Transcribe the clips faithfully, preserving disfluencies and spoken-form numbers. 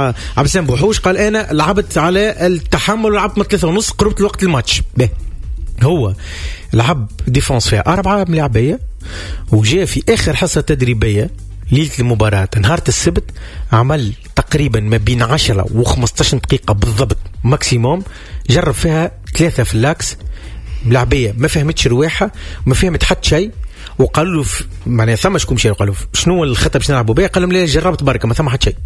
عبد السلام بوحوش، قال انا لعبت على التحمل ولعبت من ثلاثة ونص قربت الوقت الماتش. به هو لعب défense فيها أربعة ملاعبية، وجاء في آخر حصة تدريبية ليلة المباراة نهار السبت عمل تقريبا ما بين عشرة وخمسطاش دقيقة بالضبط maximum، جرب فيها ثلاثة في l'axe ملاعبية ما فهمتش رواحها، ما فهمت حتى شيء، وقالوا له معناها ثم شكون مشى قالوا شنو الخطة باش نلعبوا بها؟ قال لهم لا جربت بركة ما ثم حتى شيء،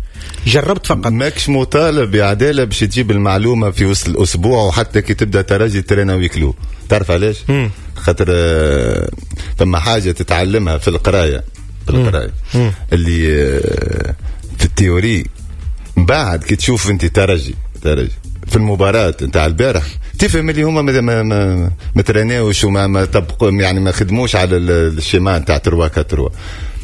جربت فقط. ماكش مطالب بعداله باش تجيب المعلومة في وسط الاسبوع وحتى كي تبدا ترجي ترينا huis clos. تعرف علاش؟ خاطر ثم حاجة تتعلمها في القراية، في القراية اللي في ال théorie، من بعد كي تشوف انت ترجي ترجي في المباراة نتاع البارح تفهم اللي هما ما ما ما, ما تريناوش وما ما طبقوا، يعني ما خدموش على ال schéma نتاع ثلاثة أربعة ثلاثة.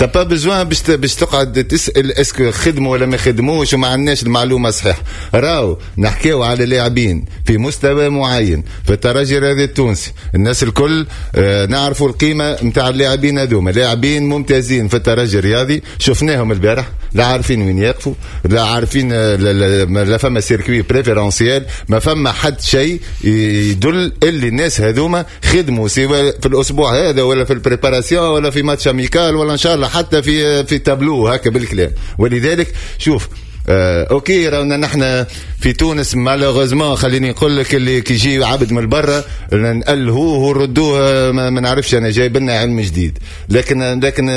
t'as pas besoin باش باش تقعد تسال est-ce que خدموا ولا ما خدموش وما عندناش المعلومة صحيح. راهو نحكيو على لاعبين في مستوى معين في الترجي الرياضي التونسي، الناس الكل آه نعرفوا القيمة نتاع اللاعبين هذوما، لاعبين ممتازين في الترجي الرياضي، شفناهم البارح لا عارفين وين يقفوا، لا عارفين لا, لا فما circuit préférentiel، ما فما حد شيء يدل اللي الناس هذوما خدموا سواء في الاسبوع هذا ولا في ال préparation ولا في match amical ولا ان شاء الله حتى في في تابلو هكا بالكلام. ولذلك شوف آه OK رانا نحن في تونس malheureusement خليني نقول لك اللي كي يجي عبد من برا نألهوه ونردوه ما, ما نعرفش انا جايب لنا علم جديد، لكن لكن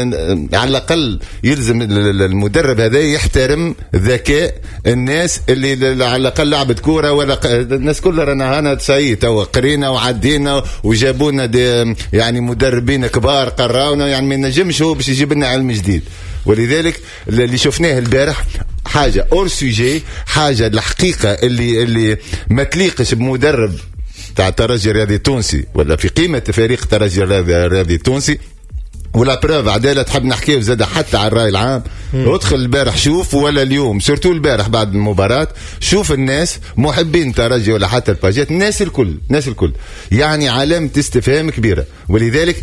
على الاقل يلزم المدرب هذا يحترم ذكاء الناس اللي على الاقل لعبت كورة ولا الناس كلها رانا هنا تسعي توا قرينا وعدينا وجابوا لنا يعني مدربين كبار قراونا، يعني ما ينجمش هو باش يجيب لنا علم جديد. ولذلك اللي شفناه البارح حاجة hors sujet، حاجة الحقيقة اللي اللي ما تليقش بمدرب تاع الترجي الرياضي التونسي ولا في قيمة فريق الترجي الرياضي التونسي. و la preuve عدالة تحب نحكيه زاد حتى على الراي العام. ادخل البارح شوف ولا اليوم surtout البارح بعد المباراة شوف الناس محبين الترجي ولا حتى الباجات، الناس الكل الناس الكل يعني علامة استفهام كبيرة. ولذلك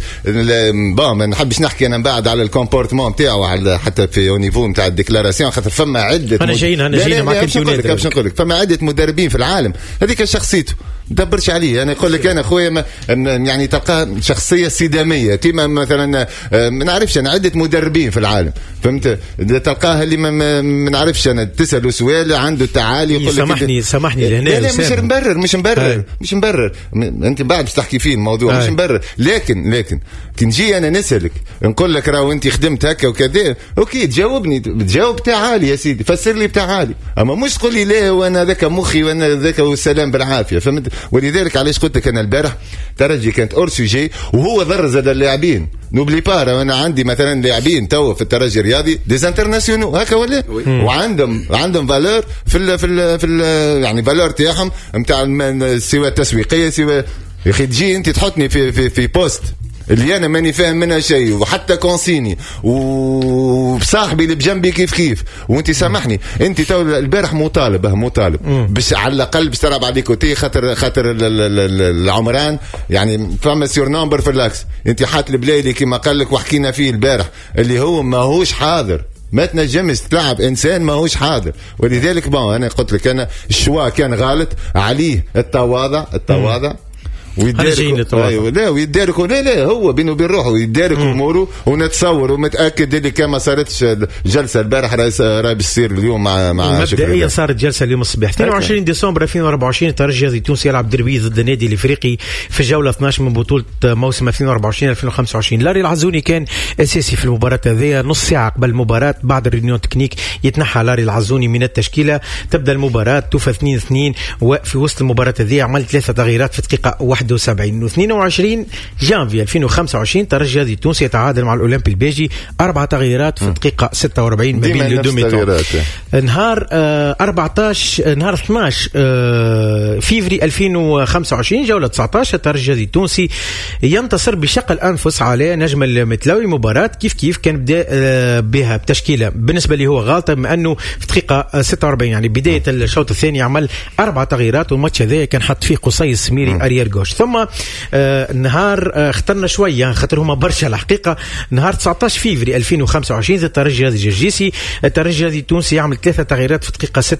bon ما نحبش نحكي انا من بعد على ال comportement نتاعو على حتى في au niveau نتاع ال déclaration، خاطر فما عده انا جايين انا جايين معك انت باش نقول لك فما عده مدربين في العالم هذيك شخصيته دبرش عليه. انا يقول لك انا خويا يعني تلقاه شخصية صداميه كيما مثلا ما نعرفش انا عده مدربين في العالم فهمت، تلقاه اللي ما, ما نعرفش انا تساله سؤال عنده تعالي يقول لك سامحني سامحني لهنا. لا لا مش مبرر مش مبرر مش مبرر انت بعد باش تحكي فيه الموضوع مش مبرر، لكن لكن كي نجي انا نسالك نقول لك راهو انت خدمت هكا وكذا OK تجاوبني تجاوب تعالي يا سيدي فسر لي بتعالي، اما مش تقول لي لا وانا ذاك مخي وانا ذاك والسلام بالعافية فهمت. ولذلك علاش قلت لك انا البارح ترجي كانت hors sujet وهو ضر زاد اللاعبين. n'oublie pas انا عندي مثلا لاعبين تو في الترجي الرياضي des internationaux هكا ولا وعندهم عندهم valeur في ال في ال في ال يعني valeur تاعهم نتاع سواء التسويقية سواء يا اخي تجي انت تحطني في في في poste اللي انا ماني فاهم منها شيء وحتى consigne وصاحبي اللي بجنبي كيف كيف وانت سامحني انت تو البارح مطالب مطالب باش على الاقل باش تلعب على côté خاطر خاطر العمران يعني فما surnombre في l'axe انت حاط البلايلي كما قال لك وحكينا فيه البارح اللي هو ماهوش حاضر، ما تنجمش تلعب انسان ماهوش حاضر. ولذلك bon انا قلت لك انا ال choix كان غلط عليه التواضع التواضع ويدارك ايوه لا ويدارك لا لا هو بينه وبين روحه يدارك اموره ونتصور ومتاكد اللي كان ما صارتش جلسه البارح راهي راهي باش تصير اليوم مع مع مبدئيا صارت جلسه اليوم الصباح اثنين وعشرين ديسمبر ألفين وأربعة وعشرين الترجي التونسي يلعب دربي ضد النادي الافريقي في الجولة اثناش من بطوله موسم ألفين وأربعة وعشرين ألفين وخمسة وعشرين. لاري العزوني كان اساسي في المباراة هذه، نص ساعة قبل المباراة بعد ال réunion technique يتنحى لاري العزوني من التشكيلة، تبدا المباراة توفى اثنين اثنين وفي وسط المباراة هذه عمل ثلاثة تغييرات في دقيقة واحد وسبعين. واثنين وعشرين جانفي ألفين وخمسة وعشرين ترجي التونسي يتعادل مع الاولمبي الباجي اربع تغييرات في دقيقة ستة وأربعين ما بين les deux mi-temps. نهار آه أربعطاش نهار اثناش آه فيفري ألفين وخمسة وعشرين جولة تسعطاش الترجي التونسي ينتصر بشق الانفس على نجم المتلوي. مباراة كيف كيف كان بدا آه بها بتشكيله بالنسبة لي هو غلطه بما انه في دقيقة ستة وأربعين يعني بداية الشوط الثاني عمل اربع تغييرات والماتش هذا كان حط فيه قصي السميري arrière gauche. ستيلنبوش. ثم آه نهار آه اخترنا شوية خاطر هما برشا الحقيقه، نهار تسعطاش فيفري ألفين وخمسة وعشرين الترجي الرياضي الجرجيسي، الترجي الرياضي التونسي يعمل ثلاثة تغييرات في دقيقة ستة.